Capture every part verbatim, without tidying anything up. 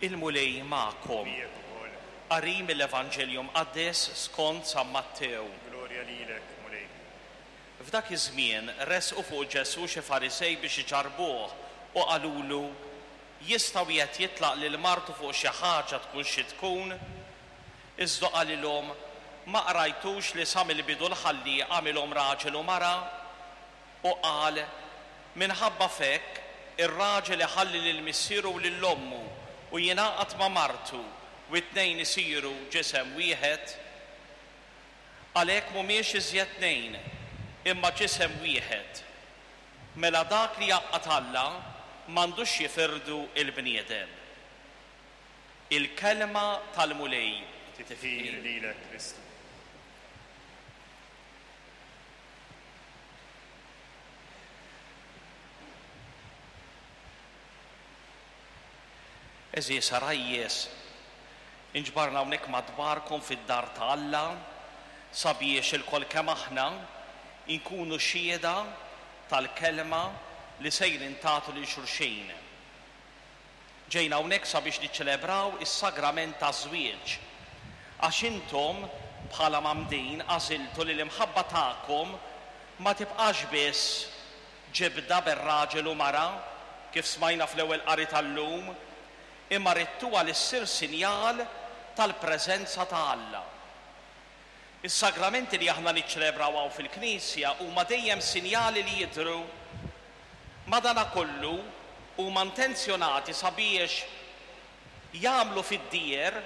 Il-Mulej magħkom. Miegħek ukoll. Qari mill-Evanġelju Mqaddes skont San Mattew. Glorja lilek, Mulej. F'dak iż-żmien resqu fuq Ġesù xi Farisej biex iġarbuh u qalulu: Jista' wieħed jitlaq lil martu fuq xi ħaġa tkun xi tkun? Iżda qalilhom: Ma qrajtux li sa mill-bidu l-Ħallieq għamilhom raġel u mara? U qal: Minħabba f'hekk ir-raġel iħalli lil missieru u lil ommu u jingħaqad ma' martu u t-tnejn isiru ġisem wieħed. Għalhekk mhumiex iżjed tnejn, imma ġisem wieħed. Mela dak li jgħaqqad Alla m'għandux jifirdu il-bniedem. Il-kelma tal-Mulej. Tifħir lilek, Kristu. Għeżież għarajjes, inġbarna hawnhekk madwarkom fid-dar ta' Alla sabiex ilkoll kemm aħna inkunu xhieda tal-kelma li sejrin tagħtu lil xulxin. Ġejna hawnhekk sabiex niċċelebraw is-sagrament taż-żwieġ, għax intom bħala mgħammdin għażiltu li l-imħabba tagħkom ma tibqax biss ġibda bejn raġel u mara, kif smajna fl-ewwel qari tal-lum, imma ridtuha li ssir sinjal tal-preżenza ta' Alla. Is-sagramenti li aħna niċċelebraw hawn fil-Knisja huma dejjem sinjali li jidhru, madanakollu huma intenzjonati sabiex jagħmlu fid-dieher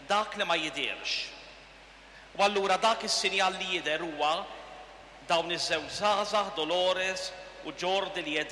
dak li ma jidhirx. U allura dak is-sinjal li jidher huwa dawn iż-żewġ żgħażagħ, Dolores u Jordi, li